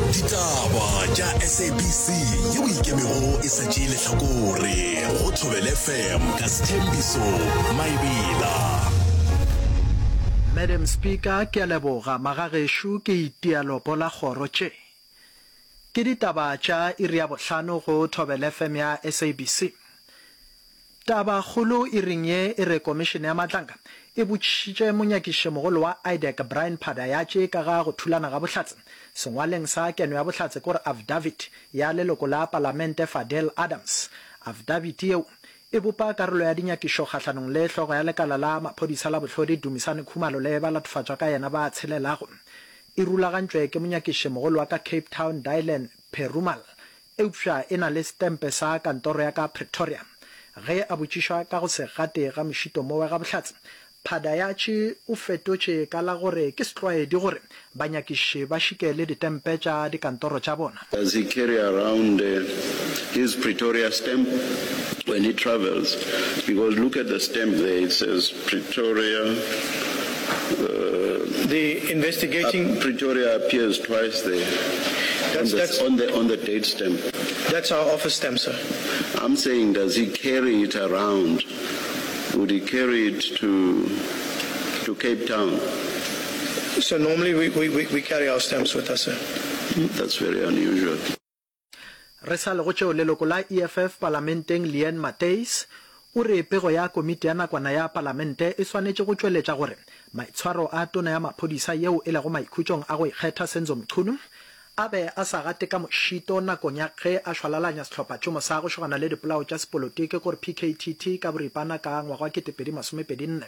Ditaba tša SABC yeo e ikemego e sa tšee lehlakore go Thobela FM ka Sthembiso Maebela. Madam Speaker, ke a leboga. Magagešo ke itia lopo la kgoro tše. Ke ditaba tša iri ya bohlano go Thobela FM ya SABC. Tabakgolo iring ye e re Komišene ya Matlanka e botšišitše monyakišišemogolo wa IDAC Brian Padayatše ka ga go thulana ga bohlatse sengwaleng sa keno ya bohlatse kore affidavit ya leloko la palamente Fadil Adams. Affidavit yeo e bopa karolo ya dinyakišo kgahlanong le hlogo ya lekala la maphodisa la bohlodi Dumisani Khumalo le balatofatšwa ka yena ba tshelelago. E rulagantšwe ke monyakišišemogolo wa ka Cape Town Dylan Perumal eupša e na le setempe sa kantoro ya ka Pretoria. Ge a botšišwa ka go se gate ga mošito mowe ga bohlatse, Padayatši o fetotše ka la gore ke setlwaedi gore banyakiši ba šike le ditempe tša dikantoro tša bona. Does he carry around his Pretoria stamp when he travels? Because look at the stamp there, it says Pretoria. The investigating. Pretoria appears twice there. That's, on, the, that's, on the on the date stamp. That's our office stamp, sir. I'm saying, does he carry it around? Would he carry it to to Cape Town? So normally we, we, we, we carry our stamps with us, sir. That's very unusual. Re sa le go tšeo, leloko la EFF palamenteng Leanne Matthys o re pego ya komiti ya nakwana ya palamente e swanetše go tšweletša gore maitshwaro a tona ya maphodisa yeo e lego maikhutšong a go ikgetha Senzo Mchunu a be a sa gate ka mošito nakong ya ge a šwalalanya sehlophatšhomo sa go šogana le dipolao tša sepolotiki gore PKTT ka boripana ka ngwaga wa 2024.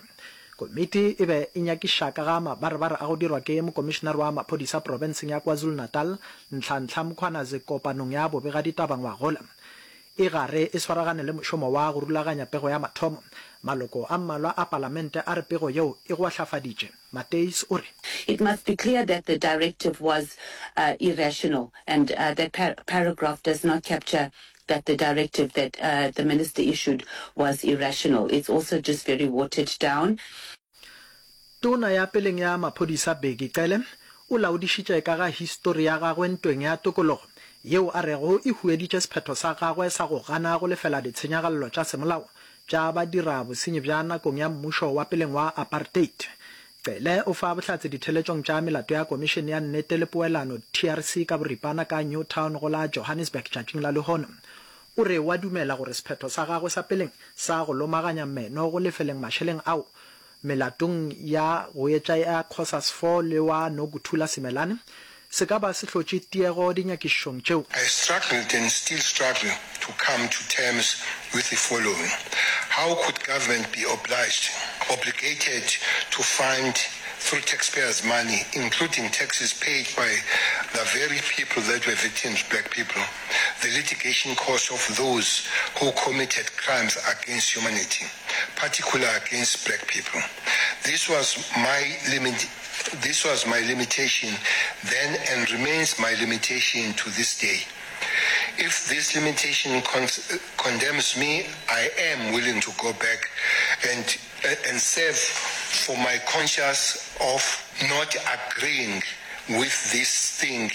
Komiti e be e nyakiša ka ga mabarebare a go dirwa ke Mokomišenare wa Maphodisa profenseng ya KwaZulu-Natal, Nhlanhla Mkhwanazi kopanong ya bobegaditaba ngwagola. E gare e swaragane le mošomo wa go rulaganya pego ya mathomo. Maloko a mmalwa a palamente a re pego yeo e goahlafaditše. Matthys o re. It must be clear that the directive was irrational and that paragraph does not capture that the directive that the minister issued was irrational. It's also just very watered down. Tona ya peleng ya maphodisa Bheki Cele o laodišitše ka ga histori ya gagwe ntweng ya tokologo, yeo a rego e hueditše sephetho sa gagwe sa go gana go lefela ditshenyagalelo tša semolao tša badira bosenyi bja nakong ya mmušo wa peleng wa apartheid. Cele o fa bohlatse ditheletšong tša melato ya Komišene ya Nnete le Poelano, TRC, ka boripana ka Newtown go la Johannesburg tšatšing la lehono. O re o a dumela gore sephetho sa gagwe sa peleng sa go lomaganya meno go lefeleng mašeleng ao melatong ya go etša ya Cosas 4 le wa Nokuthula Simelane se ka ba se hlotše tiego dinyakišišong tšeo. I struggled and still struggle to come to terms with the following, How could government be obliged, obligated to fund through taxpayers' money, including taxes paid by the very people that were victims, black people, the litigation costs of those who committed crimes against humanity, particularly against black people? This was my limit. This was my limitation then and remains my limitation to this day. If this limitation con condemns me, I am willing to go back and, and serve for my conscience of not agreeing with this thing.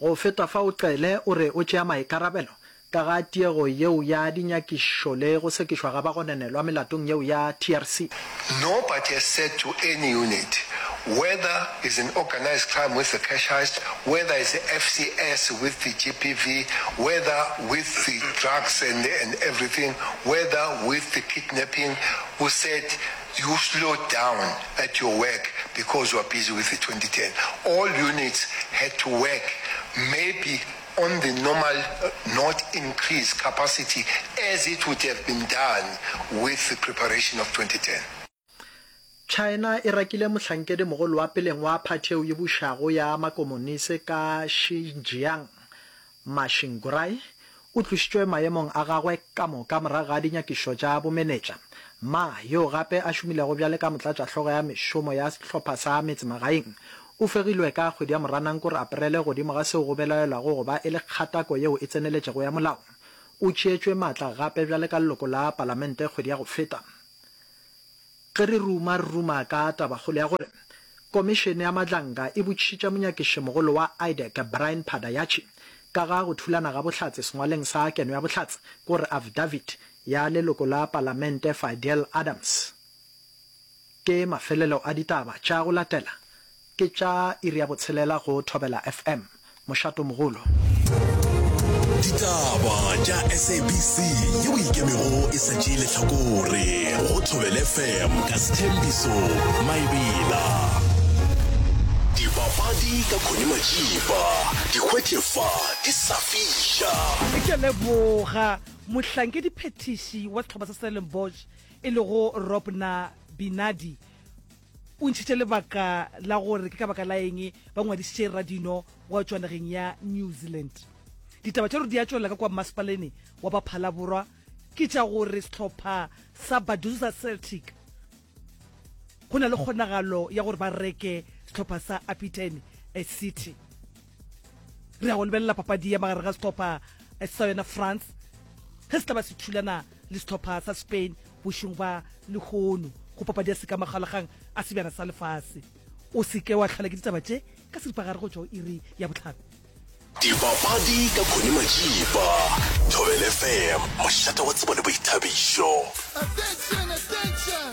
Go feta fao Cele o re o tšea maikarabelo ka ga tiego yeo ya dinyakišišo le go sekišwa ga bagononelwa melatong yeo ya TRC. Nobody has said to any unit, whether it's an organised crime with the cash heist, whether it's the FCS with the GBV, whether with the drugs and, and everything, whether with the kidnapping, who said you slow down at your work because you are busy with the 2010. All units had to work maybe on the normal, not increase capacity as it would have been done with the preparation of 2010. China e rakile mohlankedi-mogolo wa peleng wa phathi yeo e bušago ya makomonise ka Xinjiang, Ma Xingurai, o tlošitšwe maemong a gagwe ka moka morago ga dinyakišišo tša bomenetša. Ma, yoo gape a šomilego bjale ka motlatšahlogo ya mešomo ya sehlopha sa metsemagaeng, o fegilwe ka kgwedi ya Moranang kore Aprele godimo ga seo go belaelwago go ba e le kgatako yeo e tseneletšego ya molao. O tšeetšwe matla gape bjale ka leloko la palamente kgwedi ya go feta. Ge re ruma re ruma ka tabakgolo ya gore. Komišene ya Madlanga e botšišitše monyakišimogolo wa IDAC Brian Padayachee ka ga go thulana ga bohlatse sengwaleng sa keno ya bohlatse, ko re affidavit, ya leloko la palamente Fadiel Adams. Ke mafelelo a ditaba tša go latela ke tša iri ya botshelela go Thobela FM. Mošatomogolo. Ditaba tša SABC yeo e ikemego e sa tšee lehlakore go Thobela FM ka Sthembiso Maebela. Dipapadi ka Connie Majiba, di hwetše fa di sa fiša. Ke a leboga mohlankediphethiši wa sehlopha sa Stellenbosch e lego Robna Binadi o ntšhitše lebaka la gore ke ka baka la eng ba ngwadišitše radino wa tšwa nageng ya New Zealand. Ditaba tša gore di a tšwelela ka kwa mmasepaleni wa Baphalaborwa ke tša gore sehlopha sa Baduza Celtic go na le kgonagalo ya gore ba reke sehlopha sa Apitene City. Re ya go lebelela papadi ya magareng ga sehlopha sa yona France ge se tla ba se thulana le sehlopha sa Spain bošong ba lehono go papadi ya sekamagalagang a sebjana sa lefase. O se ke wa hlola ke ditaba tše ka seripagare go tšwa go iri ya bohlano. Dipapadi ka Connie Majiba, Thobela FM, mošate wa tsebo le boithabišo. Attention, attention,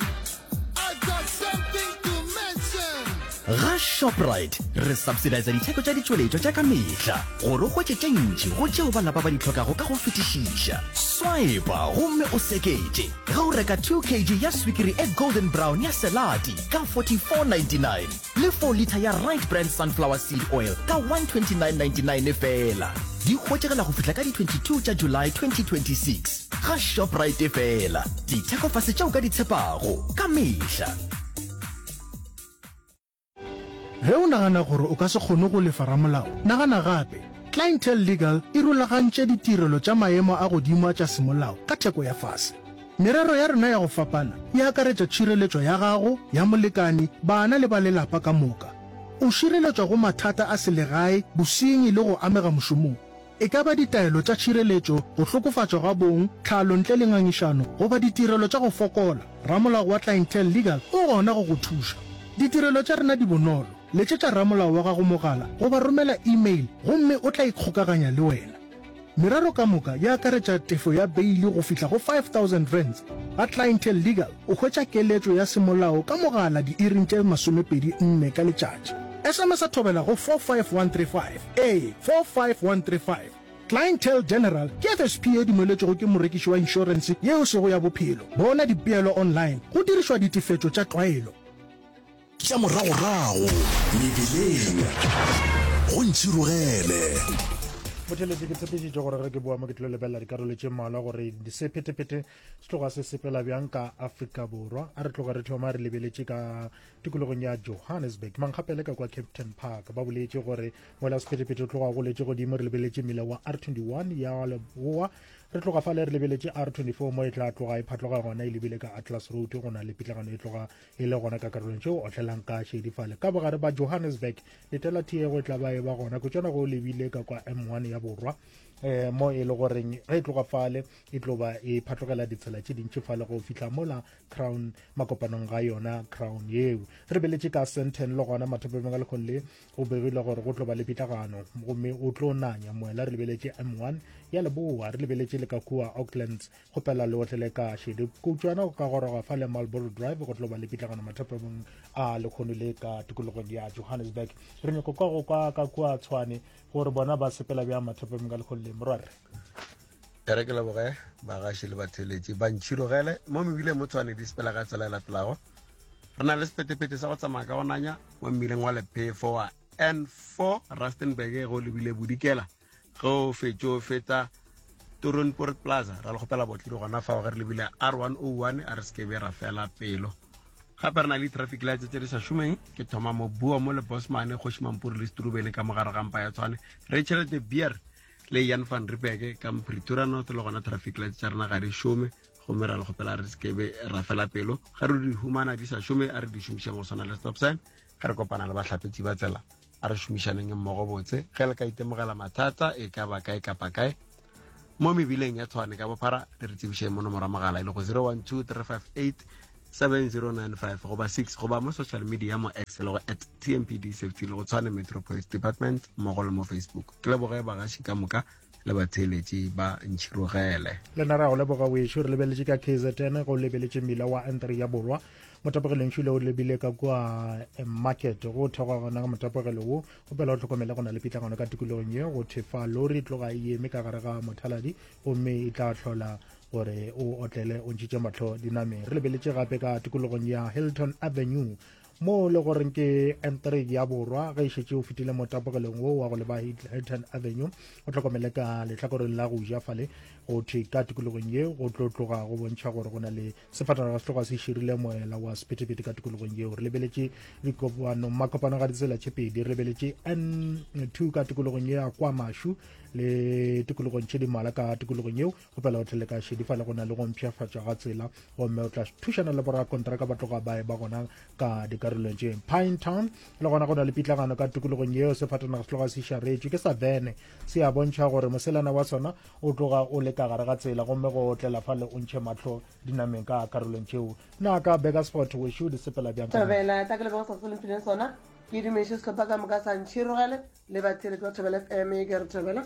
I got something to mention. Ga Shoprite re subsidisa ditheko tša ditšweletšwa tša ka mehla gore o hwetše tše ntši go tšeo ba lapa ba di hlokago ka go fetišiša. Swipa gomme o seketše ge o reka 2 kg ya swikiri e golden brown ya Selati ka 44.99 le 4 litha ya Right Brand sunflower seed oil ka 129.99 feela. Di hwetšegela go fihla ka di 22 tša July 2026 ga Shoprite feela. Dithekofase tše o ka di tshepago ka mehla. Ge o nagana gore o ka se kgone go lefa ramolao, nagana gape. Clientele Legal e rulagantše ditirelo tša maemo a godimo a tša semolao ka theko ya fase. Merero ya rena ya go fapana e akaretša tšhireletšo ya gago, ya molekane, bana le ba lelapa ka moka. O šireletšwa go mathata a selegae, bosenyi le go amega mošomong. E ka ba ditaelo tša tšhireletšo, go hlokofatšwa ga bong, tlhalo ntle le ngangišano, goba ditirelo tša go fokola, ramolao wa Clientele Legal o gona go go thuša. Ditirelo tša rena di bonolo, letšetša ramolao wa gago mogala goba romela e-mail gomme o tla ikgokaganya le wena. Merero ka moka e akaretša tefo ya beili go fihla go R5000. Ga Clientele Legal o hwetša keletšo ya semolao ka mogala diiring tše 24 ka letšatši. SMS-a thobela go 45135. Ee, 45135. Clientele General ke FSP ye dumeletšwego ke morekiši wa inšorense ye e sego ya bophelo. Bona dipeelo online go dirišwa ditefetšo tša tlwaelo. Tša moragorago mebileng go ntšhirogele. Motheletši ke tshepišitše gore ge ke boa mo ke tlo lebelela dikarolo tše mmalwa gore sephethephethe se tloga se sepela bjang ka Afrika Borwa. A re tloga re thoma re lebeletše ka tikologong ya Johannesburg mankgapele ka kwa Kempton Park ba boletše gore mola sephethephethe o tloga go letše godimo re lebeletše mmila wa R21 ya leboa re tloga fale re lebeletše R24 mo e tla tloga e phatloga gona e lebile ka Atlas Road go na le pitlagano e tloga e le gona ka karolong tšeo otlelang ka šedi fale ka bogare ba Johannesburg letela tiego e tla ba e ba gona kutšana go lebile ka kwa M1 ya borwa eh mo e le goreng ge e tloga fale e tlo ba e phatlogela ditsela tše dintši fale go fihla mola crown makopanong ga yona crown yeo re beletše ka senten le gona mathopemeng a lekgong le go begile gore go tlo ba le pitlagano gomme o tlo nanya moela re lebeletše m1 ya leboa re lebeletše le ka kua aucklands Kgopela le otlele ka šedi kutšwana go ka goroga fa le Marlboro Drive go tlo ba le pitlagano mathapamong a lekgono le ka tikologong ya Johannesburg. Re nyako kwa go kwa ka kua Tshwane gore bona ba sepela bjang mathapamong a lekgono le morwarre. E re ke leboge bagaši le batheeletši ba ntšhirogele mo mebileng mo Tshwane di sepela ka tsela e latelago. Re na le sephethephethe sa go tsamaya ka go nanya mo mmileng wa Lephefo wa N4 Rustenburg go lebile Bodikela. Ge o fetše o feta Toronport Plaza, ra le kgopela botlile gona fao ge re lebile R101 a re se ke be ra fela pelo. Gape re na le traffic lights tse di sa šomeng, ke thoma mo Boa mo le Bosmane, Kgoši Mampuru le Strubene ka mogare ga mpa ya Tshwane, Rachel de Beer le Jan van Riebeeck ka Pretoria North le gona traffic lights tša rena ga di šome gomme ra le kgopela re se ke be ra fela pelo. Ge re di humana di sa šome a re di šomišeng go swana le stop sign ge re kopana le bahlapetši ba tsela. A re šomišaneng mmogo botse. Ge le ka itemogela mathata e ka ba kae kapa kae mo mebileng ya Tshwane ka bophara, le re tsebišeng mo nomoro ya mogala e lego 012 358 7095 goba 6 goba mo social media mo X le go at TMPD Safety le go Tshwane Metro Police Department mmogo le mo Facebook. Ke leboge bagaši ka moka le batheeletši ba Ntšhirogele. Le nna re a go leboga wešo. Re lebeletše ka KZN go lebeletše mmila wa N3 ya Borwa. Motapogelo ntšhu le o lebile ka kua eh, market go thekgwa gona ka motapogelo wo. Gopela o hlokomele go na le pitlagano ka tikologong ye go thefa lori tloga e eme ka gare ga mothaladi gomme e tla hlola gore o otlele o ntšhitše mahlo dinameng. Re lebeletše gape ka tikologong ya Hilton Avenue mo le goreng ke N3 ya Borwa ge e šetše o fetile motapogelong wo wa go leba Hilton Avenue o hlokomele ka lehlakoreng la go ja fale go thwe ka tikologong ye go tlo tloga go bontšha gore go na le sefatanaga se tloga se širile moela wa sephethephethe ka tikologong yeo. Re lebeletše dikopano makopano ga ditsela tše pedi, re lebeletše N2 ka tikologong ya kwa Mashu le tikologong tše di mala ka tikologong yeo. Kgopela o tlele ka šedi fale go na le go mpshafatšwa ga tsela gomme o tla thušana le borakontraka ba tloga ba e ba gona ka dikarolong tše. Pine Town le gona go na le pitlagano ka tikologong yeo, sefatanaga se tloga se šaretšwe ke sa vene se a bontšha gore moselana wa sona o tloga o le ka gare ga tsela gomme go otlela fale o ntšhe mahlo dinameng ka karolong tšeo. Na ka Burgersfort wešo di sepela bjang ka Thobela, tla ke leboge se se le mphileng sona. Ke dumeše sehlopha ka moka sa Ntšhirogele le batheeletši ba Thobela FM ke re Thobela.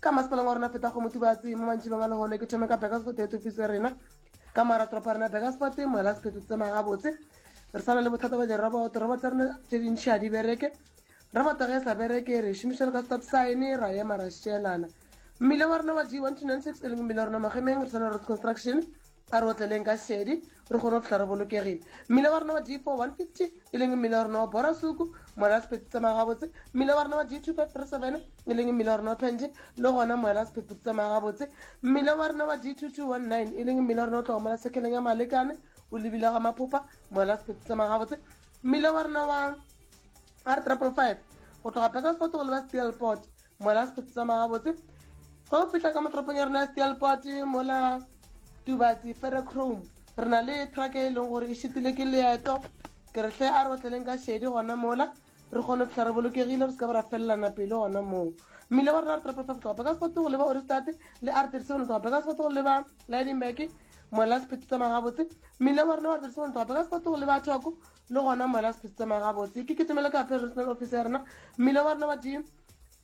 Ka masepaleng wa rena feta go Motubatse mo mantšibeng a lehono ke thome ka Burgersfort head office ya rena ka mara toropo ya rena Burgersfort moela sephetho tsamaya gabotse. Re sa na le bothata ba diroboto, roboto tsa rena tše dintši ga di bereke. Roboto ge e sa bereke re e šomiša le ka stop sign ra ema ra šeelana. Mmila wa rena wa G1296 e leng mmila wa rena Magemeng re tshwana road construction a re otleleng ka šedi re kgone go fihla re bolokegile. Mmila wa rena wa G4150 e leng mmila wa rena wa Borasuku moela sephetho tsamaya gabotse. Mmila wa rena wa G2537 e leng mmila wa rena wa Pente le gona moela sephetho tsamaya gabotse. Mmila wa rena wa G2219 e leng mmila wa rena o tloga mola sekeleng ya Malekane o lebile ga Maphopa moela sephetho tsamaya gabotse. Mmila wa rena wa R555 go tloga Burgersfort go leba Steelport Mola sephetho tsamaya gabotse. Ge o fihla ka mo toropong ya rena ya Steelport mola Tubatse Ferrochrome re na le truck e leng gore e šitile ke leeto. Ke re hle a re otleleng ka šedi gona mola re kgone go fihla re bolokegile re se ka ba ra felelana pelo gona moo. Mmila wa rena wa R555 go tloga Burgersfort go leba Ohrigstad le R37 go tloga Burgersfort go leba Lydenburg mola sephetho tsamaya gabotse. Mmila wa rena wa R37 go tloga Burgersfort go leba Thoko le gona mola sephetho tsamaya gabotse. Ke kitimele ka Regional Office ya rena mmila wa rena wa G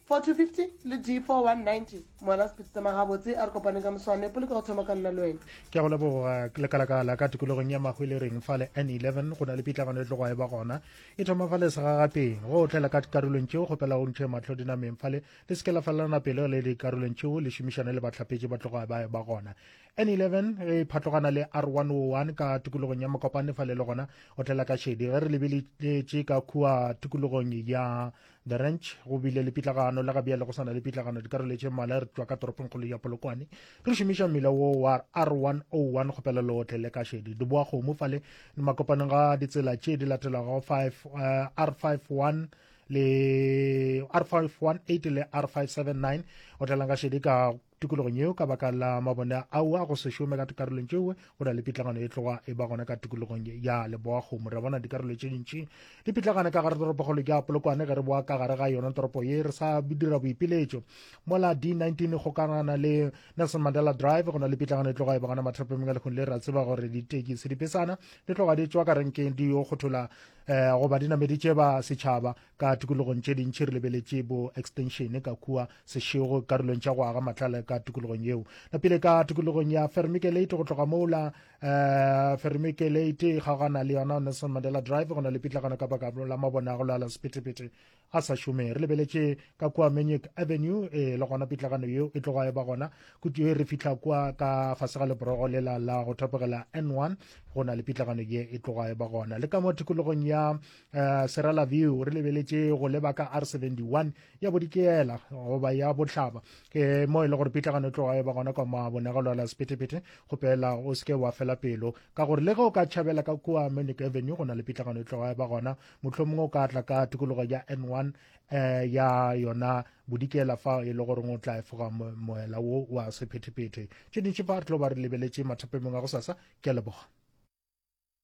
4250 le D4190 mola sephetho tsamaya gabotse. A re kopaneng ka moswane poloko go thoma ka nna le wena. Ke a go leboga lekalakala ka tikologong ya Mahwelereng fale N11 go na le pitlagano e tlogo e ba gona e thoma fale segagapeng go otlela ka dikarolong tšeo kgopela o ntšhe mahlo dinameng fale le se ke la felelana pelo le dikarolong tšeo le šomišane le bahlapetši ba tloga ba e ba gona N11 ge e phatlogana le R101 ka tikologong ya Mokopane fale le gona otlela ka šedi ge re lebeletše ka kua tikologong ya The Ranch go bile le pitlagano le ga bjale go sana le pitlagano dikarolo tše mmalwa re tšwa ka toropongkgolo ya Polokwane re šomiša mmila wo wa R101 kgopela le otlele ka šedi di boa kgomo fale makopanong ga ditsela tše di latelago 5 uh, R51 le R518 le R579 otlelang ka šedi ka tikologong yeo ka baka la mabone ao a go se šome ka dikarolong tšeo go na le pitlagano e tloga e ba gona ka tikologong ya Leboakgomo. Re bona dikarolo tše dintši di pitlagane ka gare toropokgolo ya Polokwane ge re boa ka gare ga yona toropo ye re sa dira boipiletšo mola D19 e kgokagana le Nelson Mandela Drive go na le pitlagano e tloga e ba gona mathapameng a lehung le. Re a tseba gore ditekisi dipesana di tloga di tšwa ka renkeng di yo kgothola um goba di nameditše ba setšhaba Ka tikologong tše dintši re lebeletše bo extension ka kua Seshego karolong tša go aga matlala ka tikologong yeo. Napile ka tikologong ya Vermikelate go tloga mola uh, Vermikelate e kgaogana le yona Nelson Mandela Drive go na le pitlagano ka baka la mabone a go lala sephethephethe a sa šome. Re lebeletše ka kua Menyek Avenue e le gona pitlagano yeo e tloga e ba gona kutu e re fihla kua ka fase ga leborogo lela la go thapogela N1 go na le pitlagano ye e tloga e ba gona. Le ka mo tikologong ya Uh, Serala View re lebeletše go leba ka R71 ya bodikela goba ya bohlaba ke mo e le gore pitlagano e tloga e ba gona kwa mabonegelo la sephethephethe. Kgopela o seke wa fela pelo ka gore le ge o ka tšhabela ka kua Munich Avenue go na le pitlagano e tloga e ba gona, mohlomongwe o ka tla ka tikologo ya N1 eh, ya yona bodikela fa e le gore o tla efoga moela wo wa sephethephethe. Tše dintši fa re tlo ba re lebeletše mathapemong a go sasa. Ke a leboga.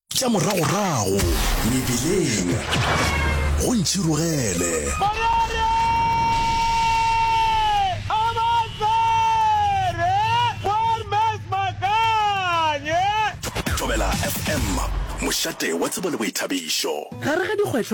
Tša moragorago mebileng go ntšhirogele. Thobela FM. Mošate wa tsebo le boithabišo. Gare ga dikgwehlo.